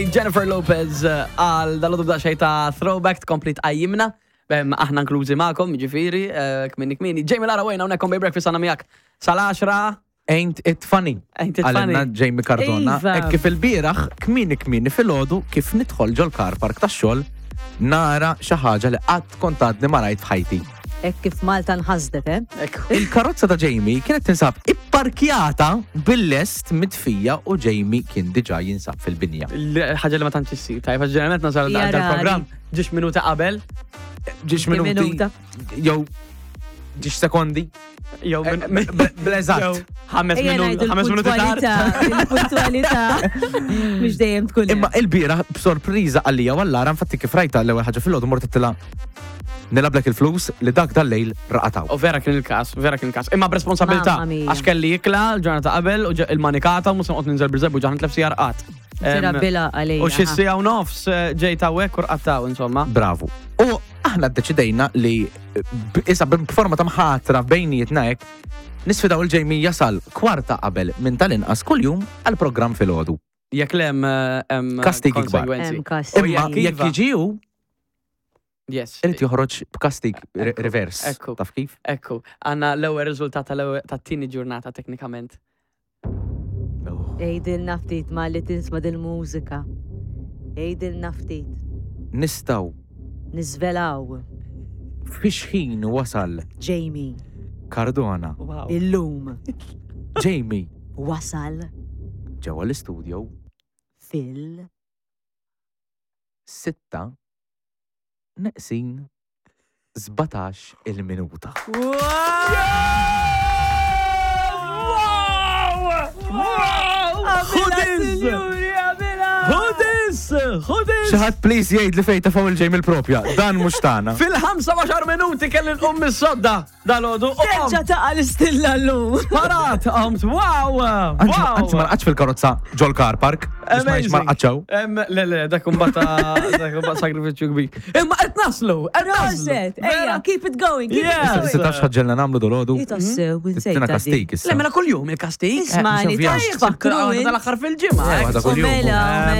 Jennifer Lopez eh, għal dal-għodu b'daqxej ta' throwback tkompli tqajjimna. Aħna inklużi magħkom, ġifieri, eh, kmini kmini. Jamie Lara wejna hawnhekk on Bay Breakfast għandna miegħek sal-10. Ain't it funny? Ain't it funny? Għalenna Jamie Cardona. Iva. Hekk kif il-bieraħ kmini kmini fil-ħodu kif nidħol ġol car park tax-xogħol nara xi ħaġa li qatt kont għadni ma rajt f'ħajti. Hekk kif Malta nħasdet, eh? Ekku. Il-karozza ta' Jamie kienet tinsab ipparkjata bil-lest mitfija u Jamie kien diġà jinsab fil-binja. Ħaġa li ma tantx issir, tajba ġeneralment nasal Hija dal-programm ġiex minuta qabel, Ġiex minuti Minuta. jew ġiex sekondi. jew Eh, Bl-eżatt. jew ħames Ejja minuti, ngħidu ħames minuti tard. l-puntwalità, il-puntwalità mhux dejjem tkun Imma hemm. il-bira b'sorpriża għalija wallara infatti kif rajta l-ewwel ħaġa fil-għodu mort tila nilablek il-flus li dak dal-lejl raqataw. U vera kien il-kas, vera kien il-kas. Imma b'responsabilità, Mamma mia. għax kelli jikla l-ġurnata qabel u il-manikata u mhux se noqgħod ninżel bil-żebbu ġaħan tlef sija rqat. Tira bila għalija. U xi sija u nofs eh, ġejt hawnhekk u rqattaw insomma. Bravu. U aħna ddeċidejna li b- issa b'forma ta' mħatra bejnietna hekk nisfidaw il-Jamie jasal kwarta qabel minn tal-inqas kuljum għal-programm filgħodu. Jekk lem hemm Kastig ikbar. konsegwenzi. Hemm kas. U Imma jekk jekk iva. jiġi hu, Yes. irid joħroġ b'kastig re- Ekku, reverse. ekku. Taf kif? Ekku, għanna l-ewwel riżultat tal-ewwel tat-tieni ġurnata teknikament. Għidilna ftit ma li tinsma dil-mużika. Għidilna ftit. Nistgħu Niżvelaw. fix ħin wasal Jamie, Cardona. Wow. illum Jamie wasal ġewwa l-istudio fil sitta neqsin 17 il-minuta. Xudis! Xudis! Xudis! Xi ħadd please jgħid li fejn tafgħu il-Jamie il-propja. Dan mhux tagħna. Fil-15 minuti kelli nqum mis-sodda dal-għodu. u Terġa' qomt. taqa' l-istilla llum. Parat, qomt, wow! Anzi Wow! anzi ma rqadx fil-karozza ġol car park. Biex ma jgħidx ma rqadxaw. Em, Le, le, dak imbagħad dak imbagħad sagrifiċċju kbir. Imma qed naslu, qed naslu. Proset, ejja, keep it going, keep it Yes. going. Issa tafx ħaġġelna nagħmlu dolodu. Jitassew, Tina kastig issa. Le, mela kuljum il-kastig. Ismani, Eh, ta' tfakru. Tal-aħħar fil-ġimgħa. Eh, waħda kuljum. Mela, Eh, mela.